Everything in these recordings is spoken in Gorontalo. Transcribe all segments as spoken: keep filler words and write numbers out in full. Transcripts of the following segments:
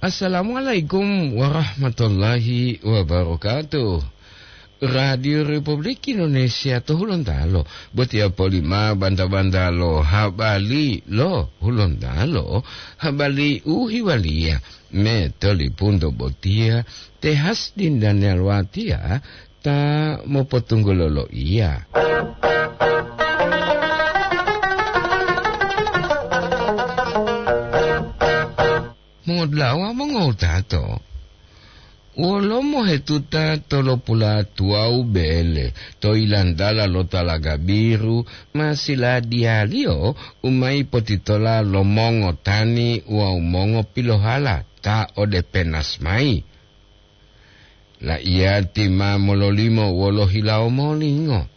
Assalamualaikum warahmatullahi wabarakatuh. Radio Republik Indonesia to Hulontalo, botiya poli ma banta-banta lo habari lo Hulontalo, habari u hiwaliya me tolipunto botiya te Hasdin Daniel Watiya ta mopotunggulo loiya. Mongodulawa mongowutato, wolo mohetuta tolopula tuwawu bele to ilantala lo talaga biru ma siladiyaliyo u ma yipotitola lo mongotani wawu mongopilohala ta ode penas mayi. La'iyati ma mololimo wolo hilawo molingo.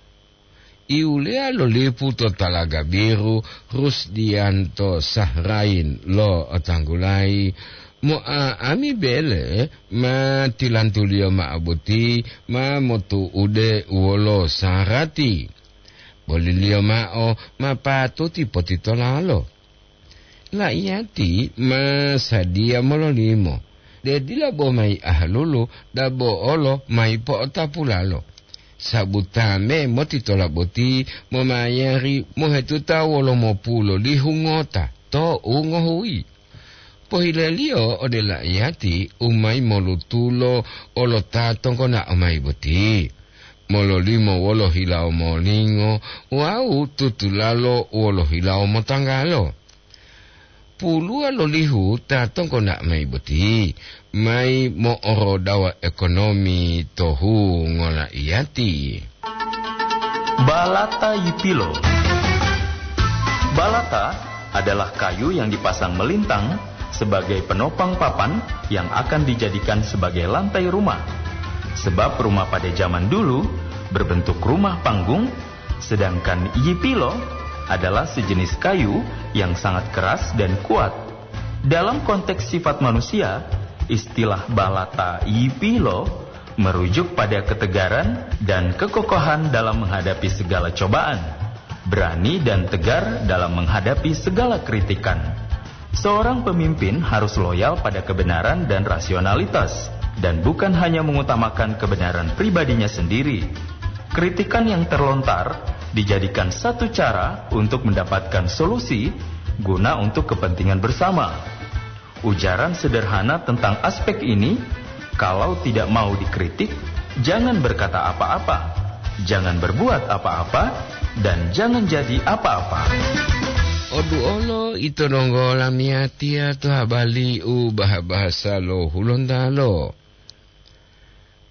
Iwuleya lo lipu to talaga biru, Rusdianto Sahrain lo otanggulayi, mo'a'ami bele ma tilantuliyo ma'o boti ma motu'ude wolo sarati. Boliliyo ma'o ma patuti potitolalo. La'iyati ma sadiya mololimo, de dila bo mayi ahalulu, dabo olo mayi po'otapulalo. Sabu ta me motitola boti momayari mohetuta wolo mopulo lihu ngota to u ngohuyi. Pohileliyo ode la'iyati u mayi molutulo olo ta tonggona'o mayi boti, mololimo wolo hilawo molingo wawu tutulalo wolo hilawo motanggalo. Puluwa lolihu ta tonggona'o mayi boti mayi mo'orodawa ekonomi to hungo la'iyati. Balata Yipilo. Balata adalah kayu yang dipasang melintang sebagai penopang papan yang akan dijadikan sebagai lantai rumah. Sebab rumah pada zaman dulu berbentuk rumah panggung, sedangkan yipilo adalah sejenis kayu yang sangat keras dan kuat. Dalam konteks sifat manusia, istilah balata yipilo merujuk pada ketegaran dan kekokohan dalam menghadapi segala cobaan, berani dan tegar dalam menghadapi segala kritikan. Seorang pemimpin harus loyal pada kebenaran dan rasionalitas, dan bukan hanya mengutamakan kebenaran pribadinya sendiri. Kritikan yang terlontar dijadikan satu cara untuk mendapatkan solusi guna untuk kepentingan bersama. Ujaran sederhana tentang aspek ini, kalau tidak mau dikritik, jangan berkata apa-apa, jangan berbuat apa-apa, dan jangan jadi apa-apa. Oduolo ito donggo lamiyatiya to habari u bahasa-bahasa lo Hulontalo.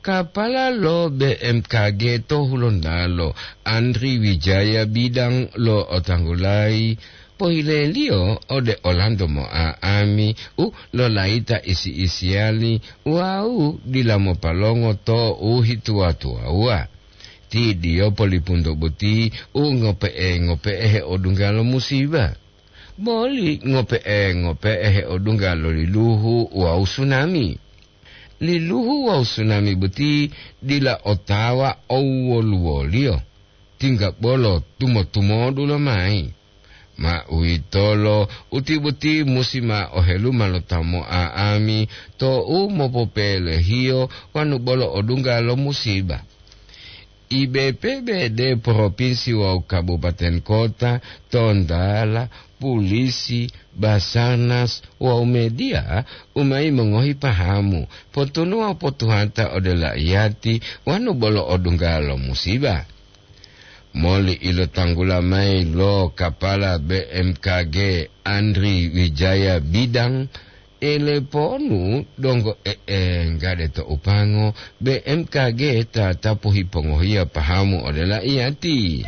Kapala lo B M K G to Hulontalo, Andri Wijaya Bidang lo otanggulayi, pohileliyo ode olanto mo'a'ami u lolayita isi-isiyali wawu dila mopalongo to u hituwa-tuwawuwa. Ti diyo polipunto boti u ngope'e-ngope'e heodungga lo musiba. Boli ngope'e-ngope'e heodungga lo liluhu wawu sunami. Liluhu wawu sunami boti dila otawa owoluwoliyo, tingga bolo tumo-tumodu lomayi. Ma uwitolo, uti boti musi ma oheluma lo ta mo'a'ami to u mopopelehiyo wanu bolo odungga lo musiba. I B P B D provinsi wawu kabupaten kota, tontala, pulisi, Basarnas wawu media u mayi mongohi pahamu, potunuwa potuhata ode la'iyati wanu bolo odungga lo musiba. Moli ilotanggula mayi lo kapala B M K G Andri Wijaya Bidang, eleponu donggo e'enggade to upango B M K G tatapu hipongohiya pahamu ode la'iyati.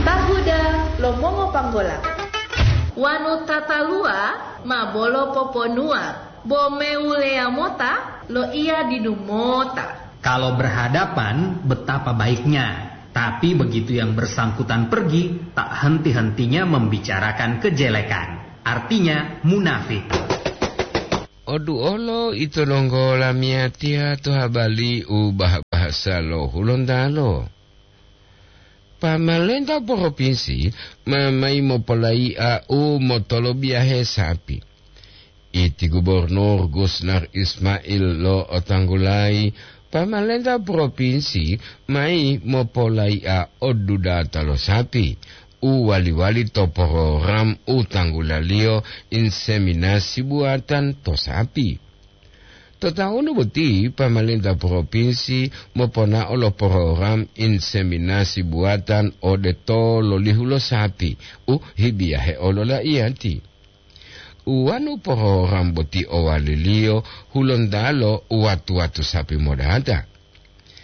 Tahuda lo mongopanggola. Wanu tataluwa ma bolo poponuwa, bo mewuleya mota loiya didu mota. Kalau berhadapan, betapa baiknya. Tapi begitu yang bersangkutan pergi, tak henti-hentinya membicarakan kejelekan. Artinya, munafik. Oduolo ito donggo lamiyatiya to habari u bah-, bahasa lo Hulontalo. Pamalenta propinsi ma mayi mopolayi'a u motolobiyahe sapi. Iti Gubernur Gusnar Ismail lo'otanggulayi, pamalenta propinsi mayi mopolayi'a odudata lo sapi u wali-wali to program u tanggulaliyo inseminasi buwatan to sapi. To tawunu boti, pamalenta propinsi moponao lo program inseminasi buwatan ode tololihu lo sapi u hibiyahe olola'iyati. Uwanu program boti owaliliyo Hulontalo watu-watu sapi modata.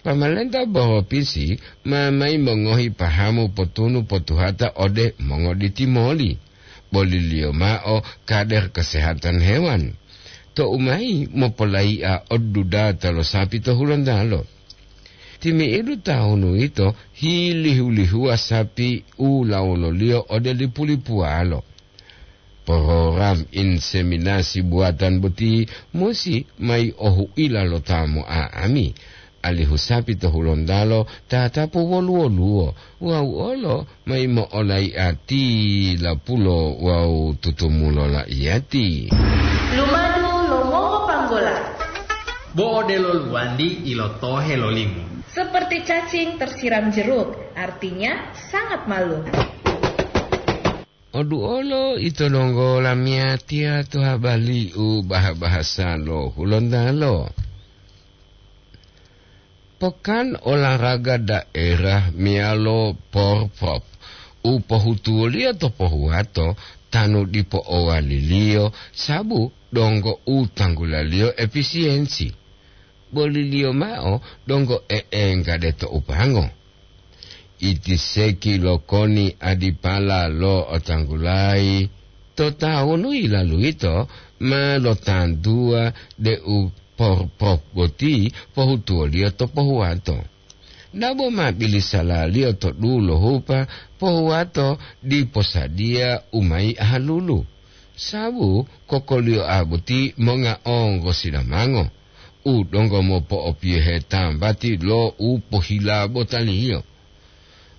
Pamalenta propinsi ma mayi mongohi pahamu potunu potuhata ode mongoditimoli, boliliyo mao kader kesehatan hewan, tou mayi mopolayi'a odudata lo sapi to Hulontalo. Timi'idu tahunu yito hilihu-lihuwa sapi u lawololiyo ode lipu-lipuwalo. Program inseminasi buwatan boti musi mayi ohu'ila lo ta mo'a'ami, alihu sapi to Hulontalo tatapu wolu-woluwo wawu olo mayi mo'olayi'a tilapulo wawu tutumulo la'iyati. Lumadu lo mongopanggola. Bo odelo luwandi ilotohe lo limu. Seperti cacing tersiram jeruk, artinya sangat malu. Oduolo ito donggo lamiyatiya to habali u baha-bahasa lo Hulontalo. Pokan olahraga daerah meyalo porprov u pohutuwoliyo to pohuwato tanu dipo owaliliyo, sabu donggo u tanggulaliyo efisiyensi. Boliliyo mao donggo e'engga de to upango. Iti seki lo koni adipala lo otanggulayi to tawunu yilalu yito ma lotantuwa deu porprov boti pohutuwoliyo to pohuwato. Dabo ma bilisalaliyo to dulohupa pohuwato dipo sadiya u mayi ahalulu, sabu kokoliyoa boti monga onggo sidamango u donggo mopo'opiyohe tambati lo u pohila botaliyo.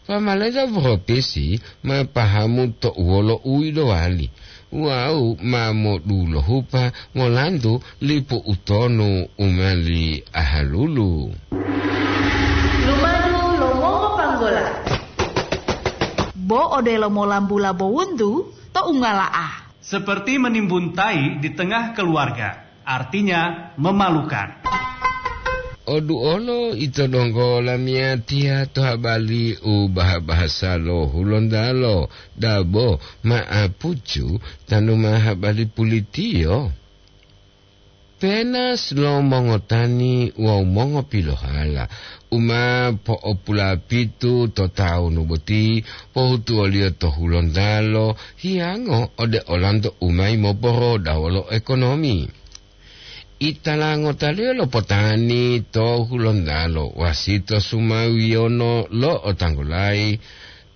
Pamalenta propinsi ma pahamu to uwolo u yilowali wawu ma modulohupa molantu lipu utonu u mali ahalulu. Lumadu lo mongopanggola. Bo odelo molambula bowuntu to ungala'a. Seperti menimbun tai di tengah keluarga, artinya memalukan. Oduolo ito donggo lamiyatiya to habali u baha-bahasa lo Hulontalo, dabo ma'apucu tanu ma habali pulitiyo. Penas lo mongotani wawu mongopilohala u ma po'opulapitu to tawunu boti pohutuwoliyo to Hulontalo hiyango ode olanto u mayi moporodawo lo ekonomi. Itala ngotaliyo lopotani to Hulontalo, Wasito Sumawiyono lo'otanggulayi,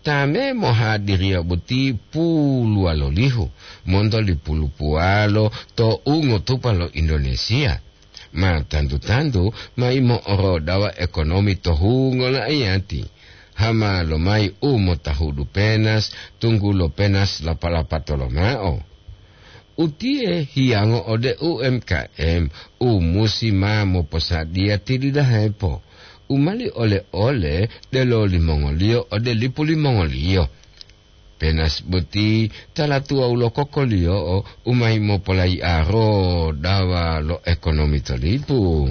ta me mohadiriya boti puluwalolihu monto lipulupuwalo to ungotupa lo Indonesia. Ma tantu-tantu mayi mo'orodawa ekonomi to hungo la'iyati. Hama lomayi u motahudu penas, tunggulo penas lapa-lapa tolomao. Utiye hiyango ode U M K M u musi ma moposadiya tilidahepo, u mali ole-ole delo limongoliyo ode lipu limongoliyo. Penas boti tala tuwawu lo kokoliyo'o u mayi mopolayi'aro dawa lo ekonomi to lipu.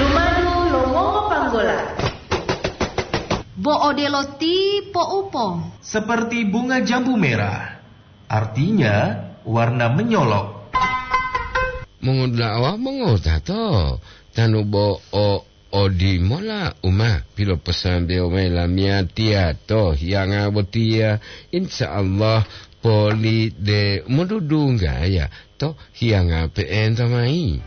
Lumadu lo mongopanggola. Bo odelo ti poupo. Seperti bunga jambu merah, artinya warna menyolok. Mongodula'a wawu mongotato, tanu bo o odimola u ma piloposambewo mayi lamiyatiya to hiyanga botiya, insya Allah poli de modudunggaya to hiyanga pe'enta mayi.